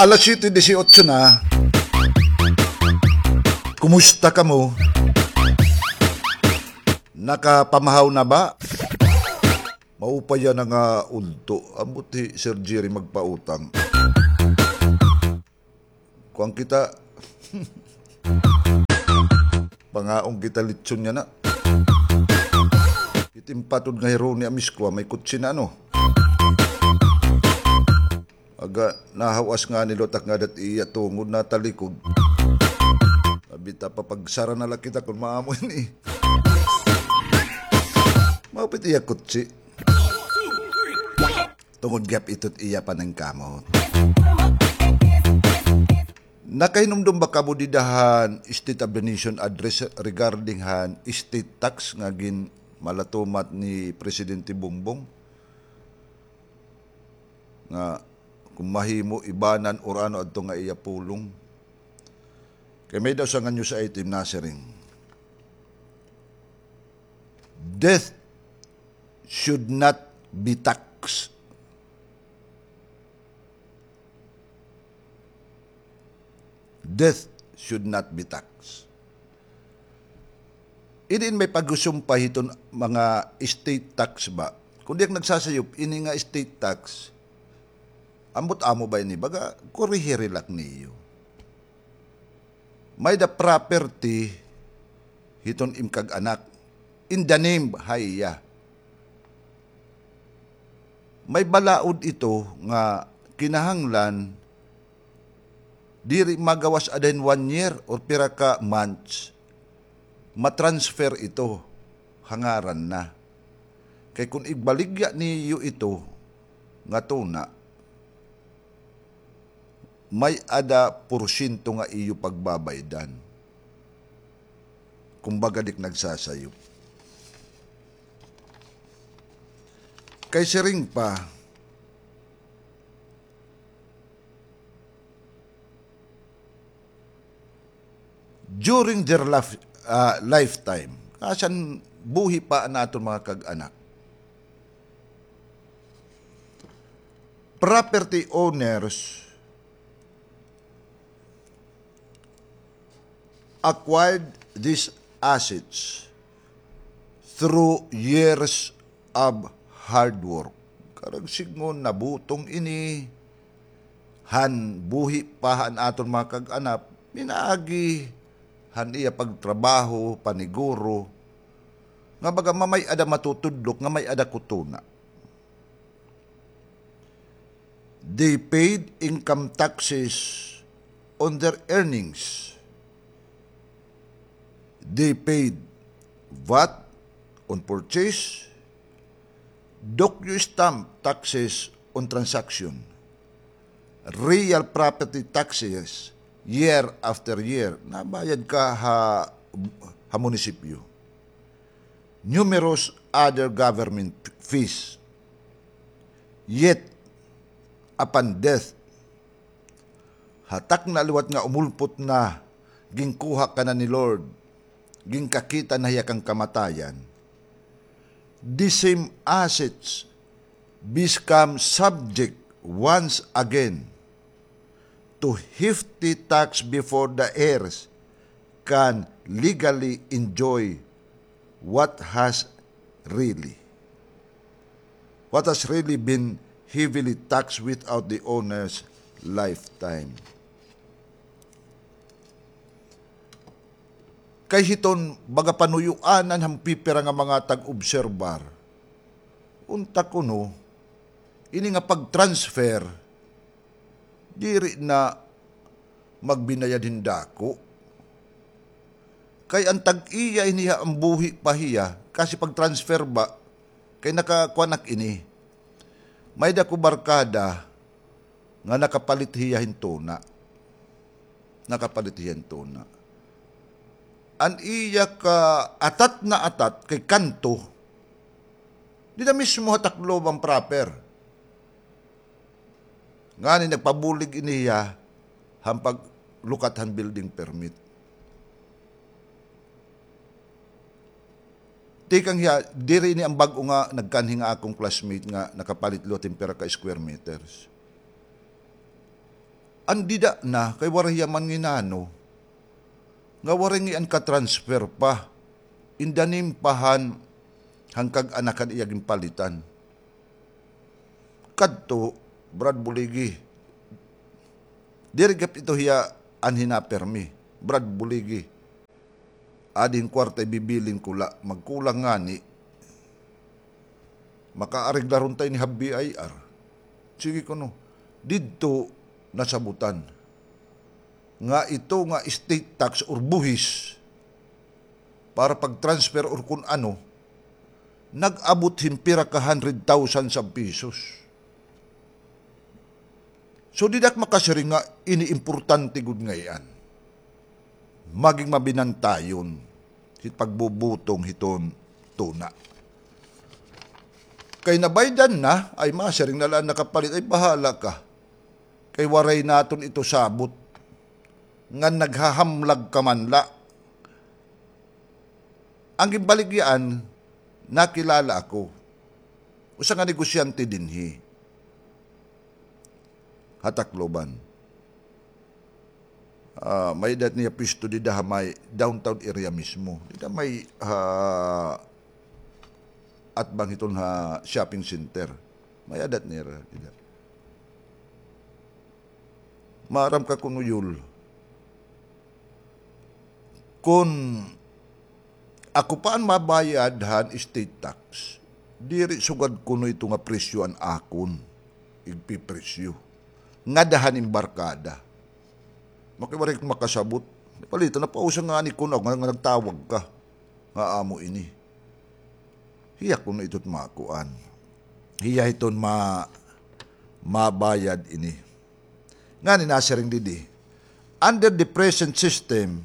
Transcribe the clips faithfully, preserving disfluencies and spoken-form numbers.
Alas siyete disiotso na. Kumusta kamo? Nakapamahaw na ba? Maupay yana nga udto. Ambot hi Sir Jerry magpautang. Kuan kita. Pangaon kita litson yana. Itim patod nga hironi amis ko, may kutsi na ano. Aga, nahawas ngani liwat ak ngada hit iya tungod natalikod. Abi ta, papagsara na la kita kon maamo ini. Maupay it iya kutsi. Tungod gihap ito it iya paningkamot. Nakahinumdom ba kamo dida han State of the Nation Address regarding han estate tax nga ginmalatumat ni Presidente Bongbong? Nga kon mahimo ibanan or ano adto nga iya pulong. Kay may-ada usa nga news item nasiring, "Death should not be taxed." Death should not be taxed. Ini in may pag-usumpa hiton mga estate tax ba? Kon di ak nagsasayop, ini nga estate tax, ambot amo ba ini? Baga, kurihiri la ak niyo. May-ada property hiton im kag-anak. In the name ha iya. May balaod ito nga kinahanglan diri magawas ada hin one year or pira ka months, matransfer ito ha ngaran na. Kay kon igbaligya niyo ito nga tuna, may-ada porsyento nga iyo pagbabaydan. Kumbaga, di ak nagsasayop. Kay siring pa, during their laf-, ah, lifetime, kashan buhi pa an aton mga kag-anak, property owners acquired these assets through years of hard work. Karuyag sidngon, nabutong ini han buhi pa han aton mga kag-anak, pinaagi han iya pagtrabaho, paniguro, nga baga mamay-ada matutudlok, nga may-ada kutuna. They paid income taxes on their earnings. They paid vat on purchase, docu-stamp taxes on transaction, real property taxes year after year. Nabayad ka ha, ha munisipyo. Numerous other government fees. Yet, upon death, ha takna liwat nga umulpot na, ginkuha ka na ni Lord, ginkakita na hiya kan kamatayan, the same assets become subject once again to hefty tax before the heirs can legally enjoy what has really, what has really been heavily taxed without the owner's lifetime. Kay hiton baga panuyuanan han pipira nga mga tag-obserbar, unta kuno, ini nga pag-transfer, diri na magbinayad hin dako. Kay an tag-iya ini ha, an buhi pa hiya, kasi pag-transfer ba, kay nakakuan ak ini. May-ada ko barkada nga nakapalit hiya hin tuna. Nakapalit hiya hin tuna. An iya ka atat na atat kay kanto, dida mismo ha Tacloban proper. Ngani nagpabulig ini hiya han paglukat han building permit. Tikang hiya, diri ini an bag-o nga nagkanhi nga akon classmate nga nakapalit liwat hin pira ka square meters. An dida na kay waray hiya man nginano nga waray ngian ka-transfer pa in the name pa han, han kag-anak han iya ginpalitan. Kadto, Brad Buligi. Diri gihap ito hiya an hinapermi. Brad Buligi. Adi hin kwarta, ibibilin ko la, magkulang ngani. Makaareglar unta ini ha B I R. Sige kuno. Didto nasabutan nga ito nga state tax or buhis para pag-transfer or kun ano, nag-abot hin pira ka hundred thousands of pesos. So, dida ak makasiring nga ini importante gud ngay-an. Maging mabinantayon hit pagbubutong hiton tuna. Kay nabaydan na, ay masiring na la an nakapalit, ay bahala ka. Kay waray naton ito sabot. Ngan naghahamlag ka man la. An ginbaligyaan, nakilala ako. Usa nga negosyante dinhi ha Tacloban. Ah, may-ada it niya pwesto dida ha may downtown area mismo. Dida may, ah, atbang hiton ha shopping center. May-ada it nira dida. Maaram ka kuno, Yul, kun ako pa an mabayad han estate tax, diri sugad kuno ito nga presyo an akon igpipresyo ngada han embarkada. Makiwaray ko makasabot. Palitan na pausa ngani kuno nga, nga nagtawag ka nga amo ini. Hiya kuno ito it makuan. Hiya hiton ma-, mabayad ini. Ngani nasiring didi, under the present system,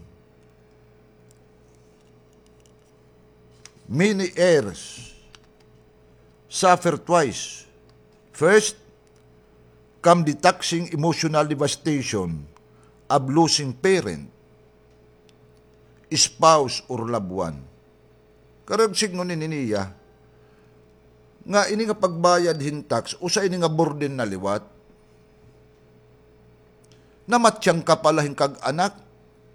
many heirs suffer twice. First, come the taxing emotional devastation of losing parent, spouse, or loved one. Karuyag sidngon ini niya nga ini nga pagbayad hin tax, usa ini nga burden na liwat. Namatyang ka pa la hin kag-anak,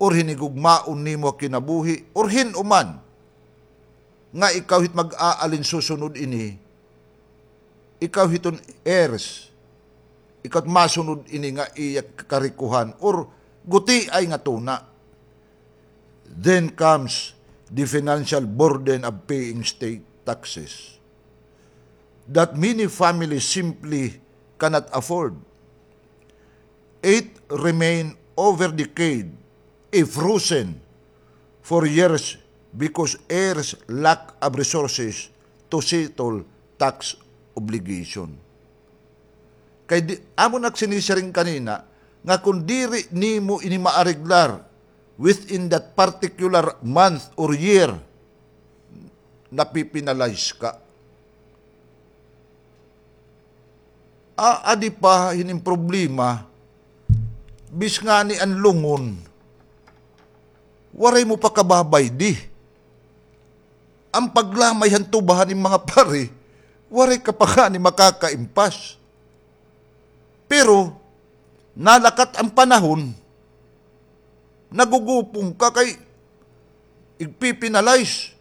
or hin higugmaon nimo ha kinabuhi, or hin-o man nga ikaw hit mag-aalin susunod ini, ikaw hiton heirs, ikaw it masunod ini nga iya karikuhan or gutiay nga tuna. Then comes the financial burden of paying state taxes that many families simply cannot afford. It remain over decade a frozen for years because heirs lack of resources to settle tax obligation. Kay di, amo na ak sinisiring kanina, nga kon diri nimo ini maareglar within that particular month or year, napi-penalize ka. Aadi pa hin im problema, bis ngani an lungon, waray mo pa kababaydi. An paglamay han tuba han im mga pari, waray ka pa ngani makakaimpas. Pero, nalakat an panahon, nagugupong ka kay igpi-penalize.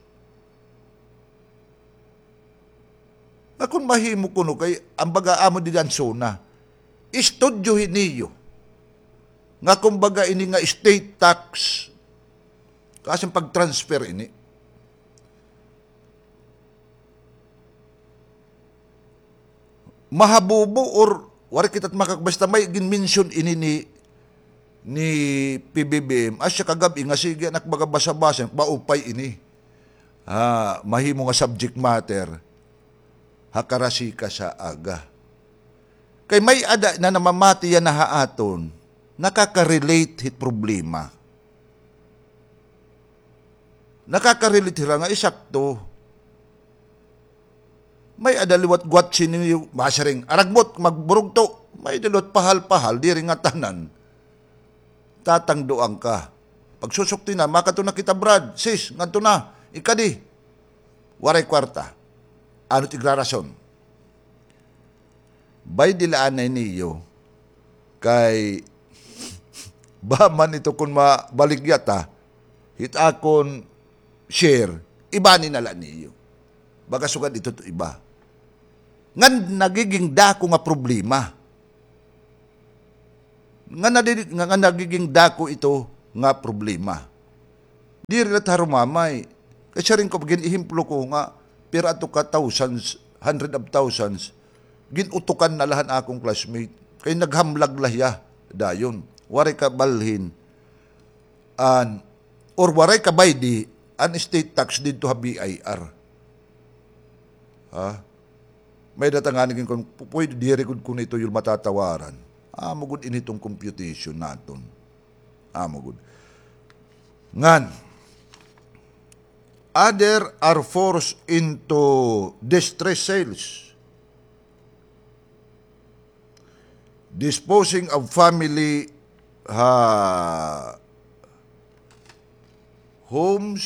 Nga kon mahimo kuno kay, an baga amo dida an SONA, istudyohi niyo nga kumbaga ini nga state tax, kasan pag-transfer ini. Mahabubo or waray kita makak-, basta may gin-mention ini ni, ni P B B M. Asya kagab-i nga sige, an ak baga basa-basa, maupay ini. Ah, mahimo nga subject matter ha karasikas ha aga. Kay may-ada na namamati yana ha aton, nakaka-relate hit problema. Nakaka-relate hira nga isakto. May-ada liwat gwatsi niyo, masiring, aragbot, magburugto. May-ada liwat pahal-pahal, diri ngatanan. Tatangduan ka. Pagsusukti na, makadto na kita, Brad, sis, ngadto na, ikadi. Waray kwarta. Ano it igrarason? Baydi la anay niyo, kay Ba man ito kon mabaligya ta, hit akon share, ibani na la niyo. Baga sugad ito to iba. Ngan nagiging dako nga problema. Nga nadi-, nga, nga nagiging dako ito nga problema. Diri la ta harumamay. Kay siring ko, gin-ehemplo ko nga, pira ato ka thousands, hundred of thousands, gin-utukan na la han akon classmate. Kay naghamlag la hiya dayon. Waray kabalhin an, or waray kabaydi an state tax didto ha B I R. Ha? May-ada ta ngani gin kon, pu-, pwede diri gud kuno ito yun matatawaran. Amo gud ini iton computation naton. Amo gud. Ngan, other are forced into distress sales. Disposing of family, ha, homes.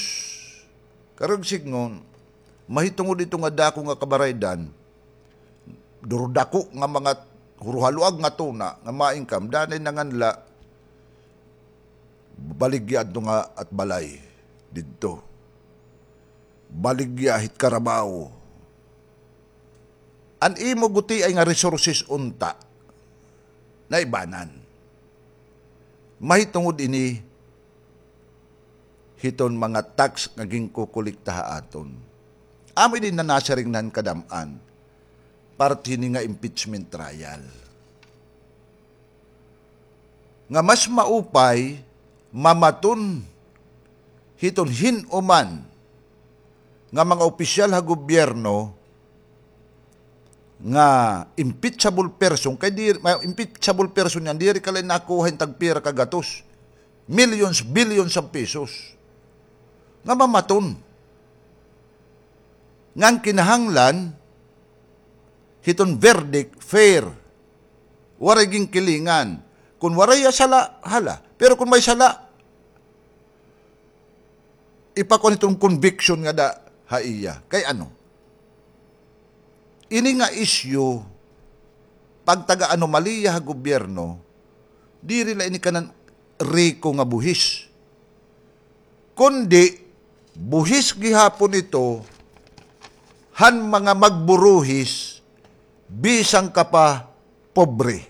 Karuyag sidngon, mahitungod ito nga dako nga kabaraydan, duro dako nga mga huruhaluag nga tuna nga ma-income, danay nanganla, baligya adto nga at balay didto. Baligya hit karabaw. An imo gutiay nga resources unta, naibanan. Mahitungod ini hiton mga tax nga ginkokolekta ha aton. Amo ini na nasiring na han kadam-an, parte hini nga impeachment trial. Nga mas maupay mamaton hiton hin-o man nga mga opisyal ha gobyerno nga impeachable person, kay di, ma-, impeachable person yan, diri ka la nakuha hin tagpira ka gatos, millions, billions of pesos, nga mamaton. Ngan kinahanglan hiton verdict fair. Waray ginkilingan. Kon waray hiya sala, hala. Pero kon may sala, ipakuan hiton conviction ngada ha iya. Kay ano? Ini nga isyu, pagtaga-anomalya ha gobyerno, diri la ini kanan riko nga buhis. Kundi, buhis gihapon ito han mga magburuhis, bisan ka pa pobre.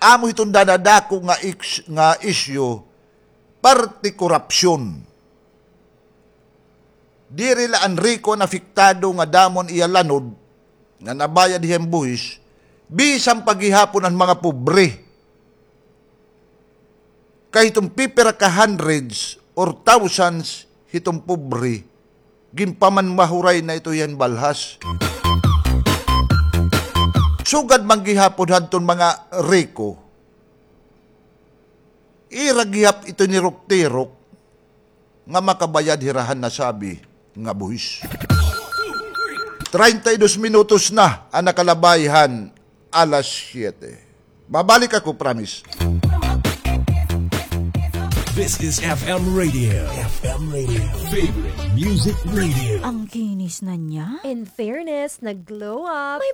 Amo hiton dadadako nga iks-, nga isyu, parte korupsyon. Diri la an riko an apektado nga damo an iya lanod nga nabayad hiya hin buhis, bisan pa gihapon an mga pobre. Kay hiton pipira ka hundreds or thousands hiton pobre, ginpamanmahuray na ito hiya hin balhas. Sugad man gihapon hadton mga riko, ira gihap ito nirok-tirok nga makabayad hira han nasabi nga buhis. Treinta y dos minutos na an nakalabay han alas siyete. Mabalik ako, promise. This is F M Radio. F M Radio. Favorite Music Radio. Ang kinis na niya. In fairness, nag-glow up. May